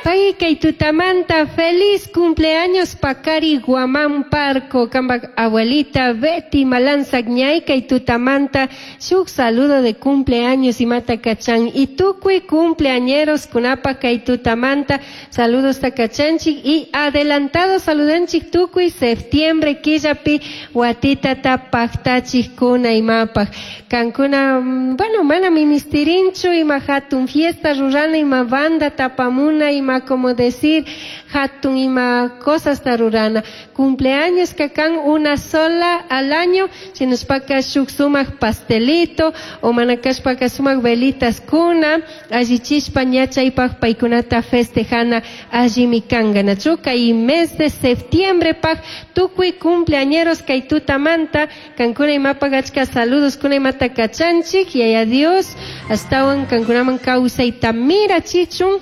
Pay kay tutamanta feliz cumpleaños Pacari Guamán Parco, cambaj abuelita Betty Malanza ñay kay tutamanta shuk saludo de cumpleaños imata kachan y tukuy cumpleañeros kunapa kay tutamanta saludos takachanchik y adelantado saludanchik tukuy septiembre killapi watitata paktachik kuna imapaj kankuna bueno mana ministirinchu ima hatun fiesta rurana ima banda tapamuna ima como decir hatun ima cosas rurana cumpleaños kakan una sola al año shinashpaka shuk sumak pastelito o mana kashpaka sumak velitas kuna allichishpa ña chaypaj paykunata festejana allimi kanka nachu kay mes de septiembre paj tukuy cumpleañeros kay tutamanta kankuna imapaj achka saludos kuna imata kachanchik yaya Dios ashtawan kankunaman kawsayta mirachichun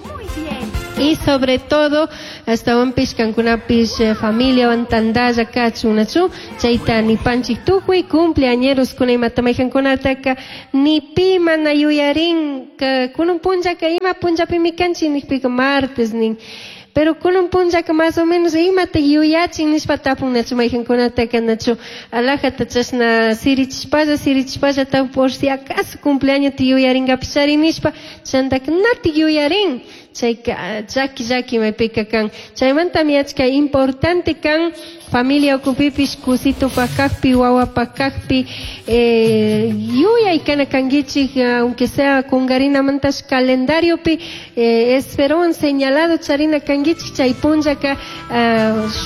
y sobre todo ashtawanpish kankunapish familiawan tandalla kachun nachu chayta nipanchik tukuy cumpleañeros kuna imata maykankunataka ni pi mana yuyarin kunan punllaka ima punllapimi kanchik nikpika martes nin pero kunan punllaka más o menos imata yuyachin nishpa tapun nachu maykankunataka nachu alajata chashna sirichishpalla sirichishpalla tapun por si acaso cumpleaños yuyarinkapish nishpa chantaka natik yuyarin chayka llaki llaki maypika kan chaymantami achka importante kan familia ukupipish kusitupak kakpi wawapak kakpi yuyay kana kankichik aunque sea kungarinamantash calendariopi esferowan señalado charina kankichik chay punllaka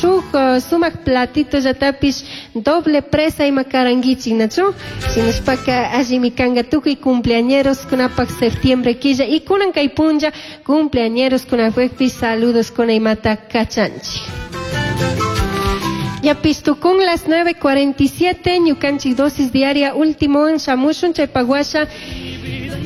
shuk sumak platito llatapish doble presa ima karankichik nachu shinashpaka allimi kanka tukuy cumpleañeros kunapak septiembre killa y kunan kay punlla cumpleañeros kunapakpish saludos kuna imata kachanchik. Ya pistukun las 9:47, ñukanchik dosis diaria último en shamushun chaypaguasha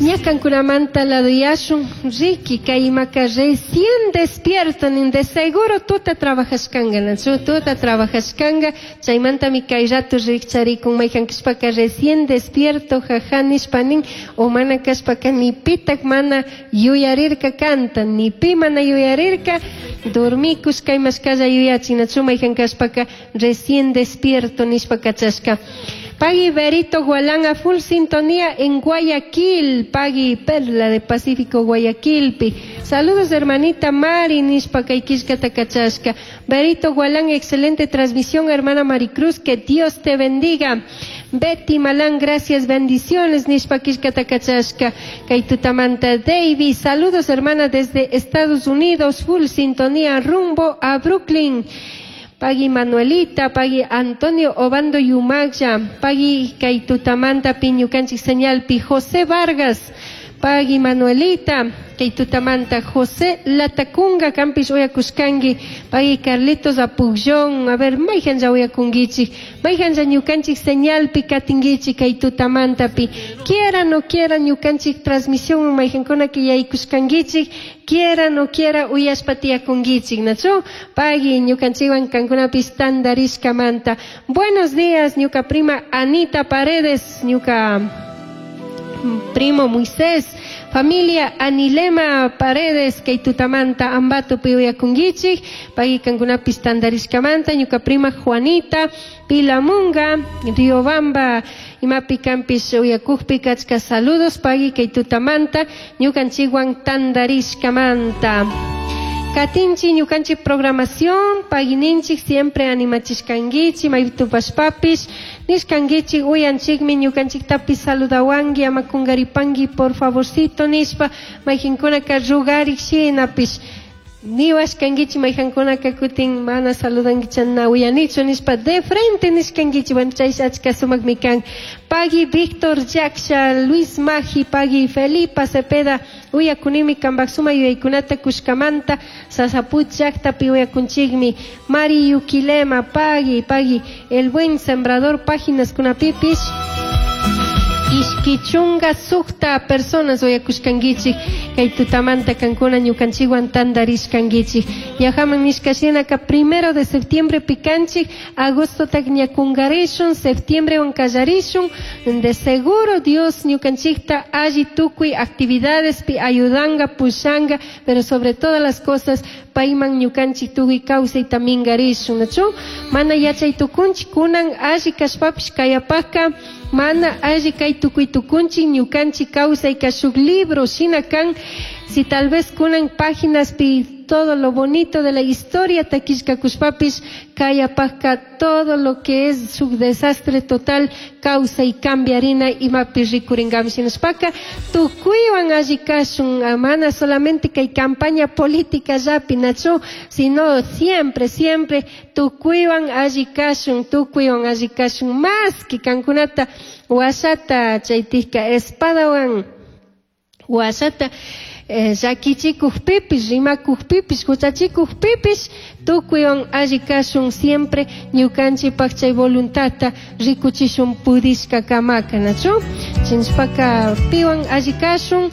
ña kankunamanta laduyashun Ricky kay imaka recién despierto nin de seguro tuta trabajashkanka nachu tuta trabajashkanka chaymantami kay rato rikcharikun mayjan kashpaka recién despierto jaja nishpa nin o mana kashpaka ni pitak mana yuyarirka kanta ni pi mana yuyarirka dormikushka imashkalla yuyachin nachu mayjan kashpaka recién despierto nishpa kachashka. Pagui Berito Gualán a full sintonía en Guayaquil, Pagui Perla de Pacífico Guayaquilpi. Saludos hermanita Mari nishpa kay killkata kachashka. Berito Gualán, excelente transmisión, hermana Maricruz, que Dios te bendiga. Betty Malán, gracias, bendiciones, nishpa killkata kachashka. Kay tutamanta Davis, saludos hermana desde Estados Unidos, full sintonía rumbo a Brooklyn. Pagui Manuelita, Pagui Antonio Obando Yumagya, Pagui kay tutamanta piñukanchik señalpi José Vargas, Pagui Manuelita, kay tutamanta José Latacunga, kanpish uyakushkanki, Pagui Carlitos Apullón, a ver, mayjanja uyakunkichik, mayjanja ñukanchik señalpi katinkichik kay tutamantapi, quiera no quiera ñukanchik transmisión mayjankuna que yaykushkankichik, quiera no quiera uyashpa tiyakunkichik, nachu? Pagui ñukanchikwan kankunapis tandarishkamanta. Buenos días, ñuka prima Anita Paredes, ñuka primo Moisés, familia Anilema Paredes, kay tutamanta Ambato uyakunkichik, pagui kankunapis tandarishkamanta, ñuka prima Juanita Pilamunga, Riobamba, imapi kanpish uyakukpi kachka saludos, pagui kay tutamanta, ñukanchikwan tandarishkamanta. Katinchi ñukanchik programación, pagininchik siempre animachishkankichik, maytupashpapish, nishkankichik uyanchikmi ñukanchiktapis saludawanki, ama kunkaripanki por favorcito nishpa, mayqinkunaka rugarik shinapish, niwashkankichik mayqankunaka kutin mana saludankicha na uyanichu nishpa de frente nishkankichik, bueno chay achka sumakmi kan. Pagui Víctor Yaksha, Luis Maji, Pagui Felipa Cepeda, uyakunimi kanpak suma yuyaykunata kushkamanta, Sasaput llaqtapi uyakunchikmi, Mari Yuquilema, Pagui, Pagui, El Buen Sembrador, páginas kunapipish, Ishqui chunga sukta personas uyakushkankichik kay tutamanta kankuna ñukanchikwan tantarishkankichik. Ñajaman nishkashinaka 1 de septiembre pikanchik, agostotak ña kungarishun, septiembrewan kallarishun. De seguro Dios ñukanchikta alli tukuy actividadespi ayudanga, pushanga, pero sobre todas las cosas payman ñukanchik tukuy kawsayta mingarishun, nachu? Mana yachay tukunchik kunan alli kashpapish kayapaka mana alli kay tukuy tukunchik ñukanchik kawsayka shuk libro shina kan. Si tal vez kunan páginaspi todo lo bonito de la historia takishkakushpapish kayapaka todo lo que es su desastre total causa y cambiarina imapi rikuringami shinashpaka tukuywan alli kashun, mana solamente kay campaña política llapi nachu, sino siempre, siempre tukuywan alli kashun, tukuywan alli kashun, más que kankunata washata chaytika espadawan washata llakichikukpipish, rimakukpipish, huchachikukpipish, tukuywan alli kashun siempre ñukanchikpak chay voluntadta rikuchishun pudishka kamaka, nachu? Chinchpaka piwan alli kashun,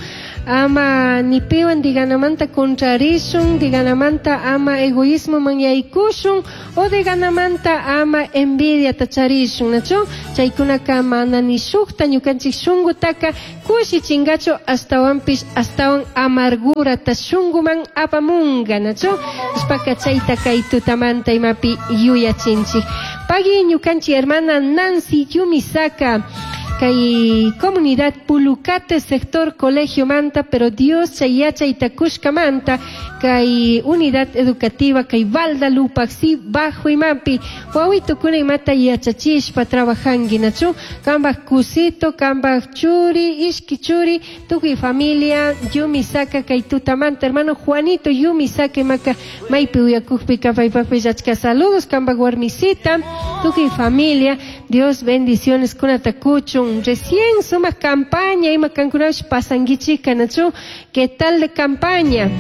ama ni piwan diganamanta contrarishun, diganamanta ama egoísmo man yaykushun, o diganamanta ama envidia tacharishun, nachu? Chaykunaka mana ni shukta ñukanchik shunkutaka kushichingachu, astawanpish astawan amargura ta shunkuman apamunga, nachu? Ishpaka chayta kay tutamanta imapi yuyachinchik. Pagui ñukanchik hermana Nancy Yumisaka, kay comunidad Pulucate, sector Colegio Manta, pero Dios chayacha y Takushka Manta, kay unidad educativa, kay Valda Lupaxi, Bajo Imapi, wawito kuna imata yachachishpa trabajangi, nachu, kambaj kusito, kambaj churi, ishki churi, tukuy familia, Yumisaka, kay tutamanta, hermano Juanito Yumisaka, imaka, maypi uyakukpi, kapaypakpi, yachka saludos, kambaj warmisita, tukuy familia, Dios bendiciones kuna takuchun. Recién suma campaña ima kankunash pasanguichika, nachu, ¿qué tal de campaña?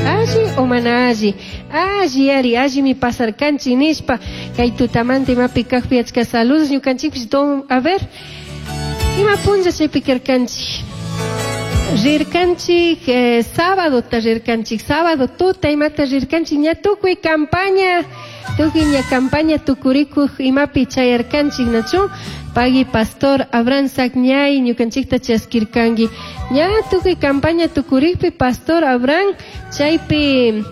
Alli o mana alli? Alli ari, alli mi pasar kanchi nishpa, kay tutamanta imapi kajpi achka saludos ñukanchikpish don, a ver, ima punlla chaypi karkanchik? Rirkanchik, sábado ta rirkanchik, sábado tuta imata rirkanchik, ña tukuy campaña, tukuy ña campaña tukurikuj imapi chayarkanchik, nachu? Pagui pastor Abraham Sagñay ñukanchikta chaskirkanki. Ña tukuy campaña tukurikpi pastor Abraham chaypi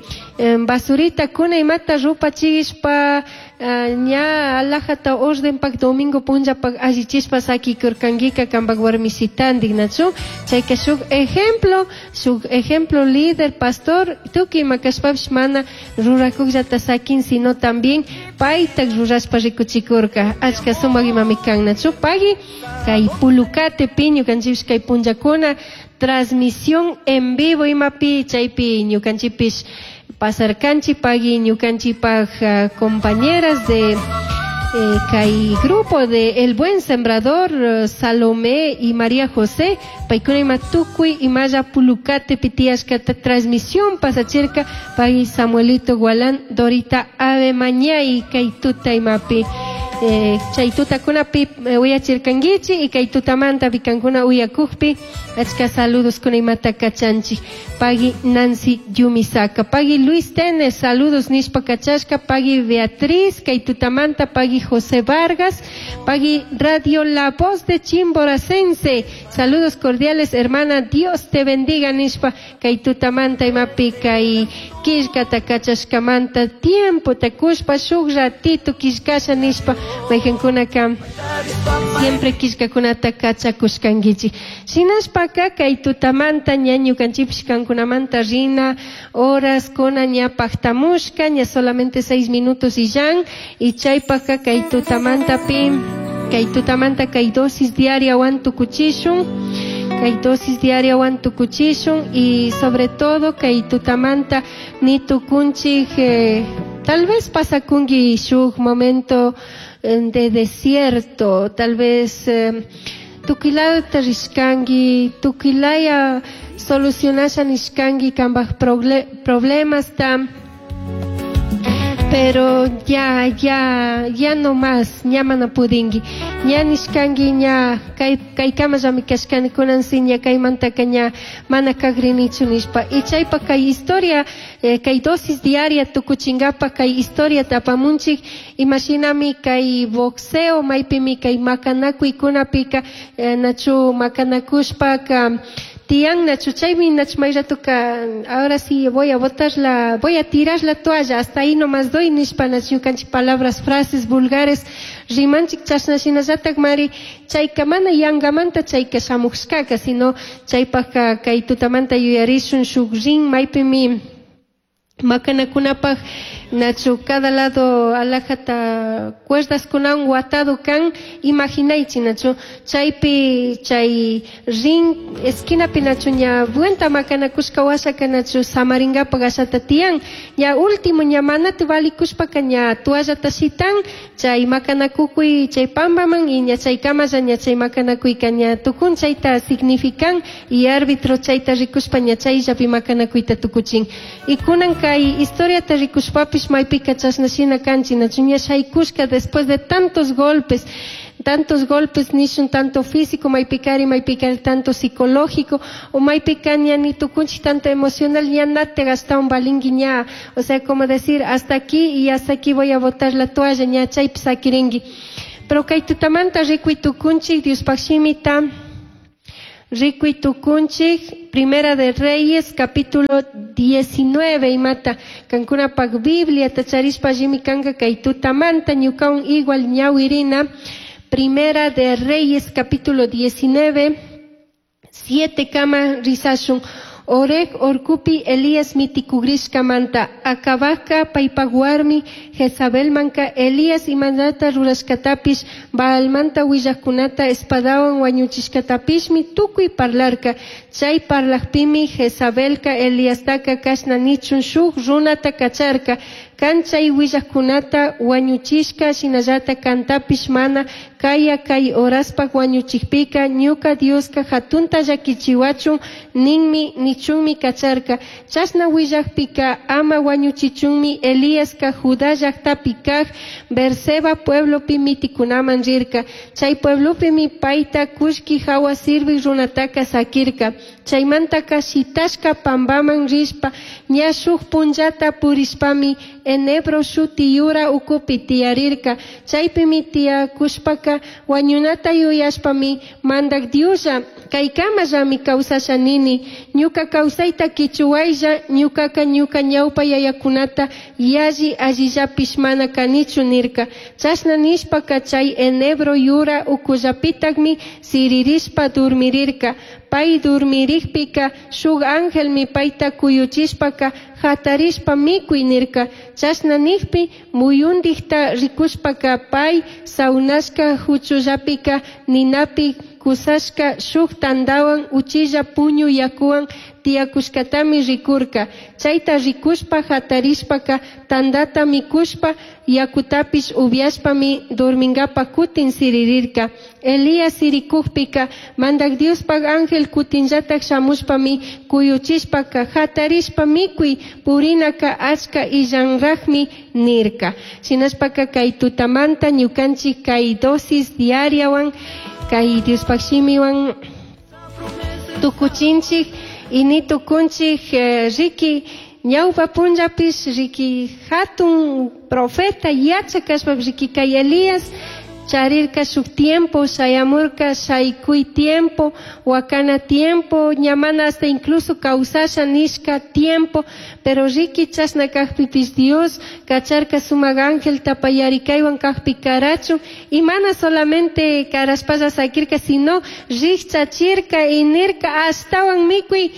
basurita kuna imata rupachishpa, ña alajata ordenpak domingo punllapak allichishpa sakikurkankika kampak warmisitandik, nachu? Chayka shuk ejemplo, shuk ejemplo líder pastor tukuy ima kashpapish mana rurakukllata sakin, sino también paytak rurashpa rikuchikurka. Achka sumak imami kan, nachu? Pagui kay Pulucate pi ñukanchikpish kay punllakuna transmisión en vivo imapi chaypi ñukanchikpish pasarkanchik, pagui ñukanchikpak compañeras de kay grupo de El Buen Sembrador, Salomé y María José, paykuna ima tukuy imalla Pulucate pitiashkata transmisión pasachirka, pagui Samuelito Gualán, Dorita Ave Mañay kay tuta imapi. Chay tutakunapi uyachirkankichik y kay tutamanta pikankuna uyakukpi achka saludos kuna imata kachanchik. Pagui Nancy Yumisaka, pagui Luis Tenes, saludos nishpa kachashka, pagui Beatriz, kay tutamanta, pagui José Vargas, pagui Radio La Voz de Chimboracense, saludos cordiales hermana, Dios te bendiga nishpa, kay tutamanta imapi kay killkata kachashkamanta, tiempo takushpa shuk ratito killkasha nishpa, maykankunaka siempre killkakunata kachakushkankichik. Shinashpaka kay tutamanta ña ñukanchikpish kankunamanta rina horas kuna ña pajtamushka, ña solamente 6 minutos y yan, y chaypaka kay tutamanta pi, kay tutamanta kay dosis diaria wan tukuchishun, kay dosis diaria wan tukuchishun, y sobre todo kay tutamanta ni tukunchik, tal vez pasakunki shuk momento de desierto, tal vez tukilata rishkanki, tukilaya solucionasha nishkanki kambaj problemas ta. Pero ya, ya, ya no más, ña mana pudinki. Ña nishkanki ña kay kaykamallami kashkani kunan si ña kaymantaka ña mana kagrinichu nishpa. Y chaypa kay historia, kay dosis diaria tukuchinkapa kay historiata apamunchik, imashinami kay boxeo maypimi kay makanakuykunapika, nachu makanakushpaka tiyan nachu chaymi nachu may ratoka ahora sí voy a botar la, voy a tirar la toalla, hasta ahí nomás doy nishpa nachu ñukanchik palabras, frases vulgares rimanchik chashna shinallatak mari chayka mana yangamanta chayka shamushkaka, sino chaypaka kay tutamanta yuyarishun shuk rin maypimi makanakunapaj nachu cada lado alajata cuerdas kunawan watado kan, imaginaychi nachu chaypi chay ring esquinapi nachu ña vuelta makanakushka washaka nachu samaringapak ashata tiyan, ña último ña manati valikushpaka ña toallata shitan chay makanakukuy chay pambaman y ña chay kamalla ña chay makanakuyka ña tukun chayta significan y árbitro chayta rikushpa ña chayllapi makanakuyta tukuchin. Y kunan kay historiata rikushpapish maypika chashna shina kanchik nachu ña shaykushka después de tantos golpes, tantos golpes nishun tanto físico maypikari maypikari tanto psicológico o maypika ña ni tukunchik tanto emocional ña nate gastawan balingi ña, o sea como decir hasta aquí y hasta aquí voy a botar la toalla ña chaypi sakirinki. Pero kay tutamanta rikuy tukunchik Diospaj shimita rikuy tukunchik Primera de Reyes capítulo 19 imata kankunapak Biblia tacharishpa allimi kanka kay tutamanta ñukawan igual ñawirina. Primera de Reyes capítulo 19 7 kama risashun. Oreg orkupi Elías mitikugrishkamanta akabaka paypak warmi Jezabelmanka Elías imanata rurashkatapish Baalmanta willajkunata espadawan wañuchishkatapishmi tukuy parlarka. Chay parlajpimi Jezabelka Eliastaka kashna nichun shuk runata kacharka. Kan chay willajkunata wañuchishka shinallata kantapish mana kaya kay horaspak wañuchikpika ñuka Dioska hatunta llakichiwachun ninmi nichunmi kacharka. Chashna willajpika ama wañuchichunmi Eliaska Judá llaktapi kaj Berseba pueblopi mitikunaman rirka. Chay pueblopimi payta kullki hawa sirvik runataka sakirka. Chaymantaka shitashka pambaman rishpa ña shuk punllata purishpami enebro shuti yura ukupi tiyarirka. Chaypimi tiyakushpaka wañunata yuyashpami mandak Dioslla kaykamallami kawsasha nini ñuka kawsayta kichuwaylla ñukaka ñuka ñawpa yayakunata yalli allillapish mana kanichu nirka. Chashna nishpaka chay enebro yura ukullapitakmi siririshpa dormirirka. Pay dormirikpika shuk angelmi payta kuyuchishpaka hatarishpa mikuy nirka. Chashna nikpi muyundikta rikushpaka pay saunashka huchullapika ninapi kusashka shuk tandawan uchilla puñu yakuwan tiyakushkatami rikurka. Chayta rikushpa hatarishpaka tandata mikushpa yakutapish upiashpami dorminkapa kutin siririrka. Elías sirikukpika mandak Diospaj ángel kutinllatak shamushpami kuyuchishpaka hatarishpa mikuy purinaka achka illanrajmi nirka. Shinashpaka kay tutamanta ñukanchik kay dosis diariawan kay Diospaj shimiwan tukuchinchik y ni tukunchik riki ñawpa punllapish riki hatun profeta yachakashpapish riki kay Elías charirka shuk tiempo shayamurka shaykuy tiempo wakana tiempo ñamana hasta incluso kawsasha nishka tiempo, pero riki chashna kajpipish Dios kacharka sumak ángel tapayarikaywan kajpi karachu y mana solamente karashpalla sakirka sino rikchachirka y nirka ashtawan mikuy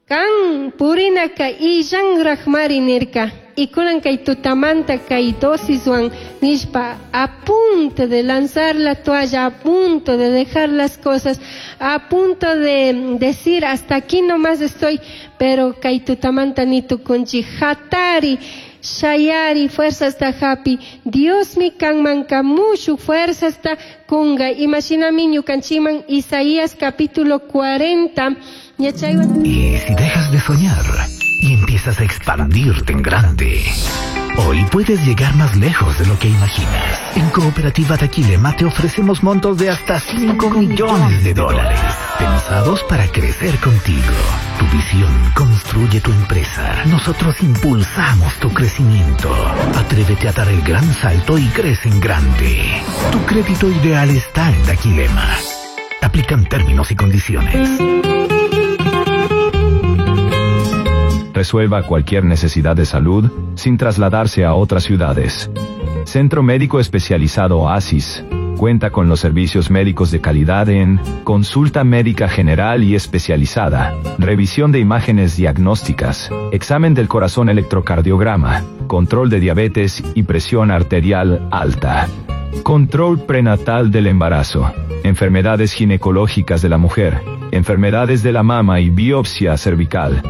kan purinaka illanrajmari nirka. Y kunan kay tutamanta kay dosiswan nishpa a punto de lanzar la toalla, a punto de dejar las cosas, a punto de decir hasta aquí nomás estoy, pero kay tutamanta ni tukunchi hatari shayari fuerzas ta hapi Dios mi kanman kamushu fuerzas ta kunga. Imaginami ñukanchiman Isaías capítulo 40. Y si dejas de soñar y empiezas a expandirte en grande. Hoy puedes llegar más lejos de lo que imaginas. En Cooperativa Daquilema te ofrecemos montos de hasta 5 millones de dólares, pensados para crecer contigo. Tu visión construye tu empresa. Nosotros impulsamos tu crecimiento. Atrévete a dar el gran salto y crece en grande. Tu crédito ideal está en Daquilema. Aplican términos y condiciones. Resuelva cualquier necesidad de salud sin trasladarse a otras ciudades. Centro Médico Especializado Oasis cuenta con los servicios médicos de calidad en consulta médica general y especializada, revisión de imágenes diagnósticas, examen del corazón electrocardiograma, control de diabetes y presión arterial alta, control prenatal del embarazo, enfermedades ginecológicas de la mujer, enfermedades de la mama y biopsia cervical,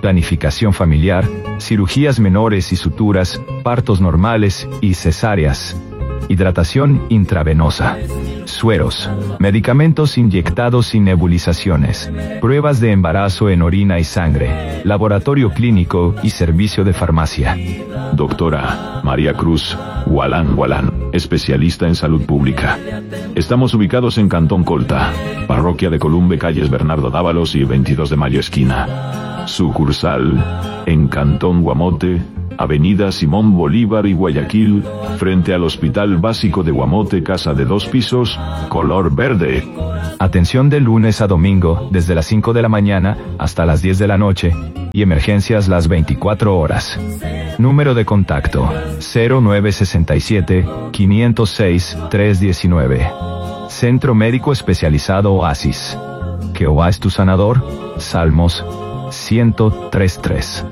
planificación familiar, cirugías menores y suturas, partos normales y cesáreas, hidratación intravenosa, sueros, medicamentos inyectados y nebulizaciones, pruebas de embarazo en orina y sangre, laboratorio clínico y servicio de farmacia. Doctora María Cruz Gualán Gualán, especialista en salud pública. Estamos ubicados en Cantón Colta, parroquia de Columbe, calles Bernardo Dávalos y 22 de Mayo esquina. Sucursal en Cantón Guamote, Avenida Simón Bolívar y Guayaquil, frente al Hospital Básico de Guamote, casa de dos pisos, color verde. Atención de lunes a domingo, desde las 5 de la mañana hasta las 10 de la noche, y emergencias las 24 horas. Número de contacto 0967 506 319. Centro Médico Especializado Oasis. Jehová es tu sanador. Salmos 103.3.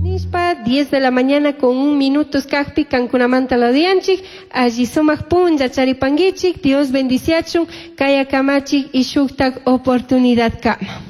Nishpa, 10 de la mañana con un minuto kajpi kankunamanta ladianchik, allí sumaq punlla charipanguichik, Dios bendiciachun, kaya kamachik y shuktak oportunidad kama.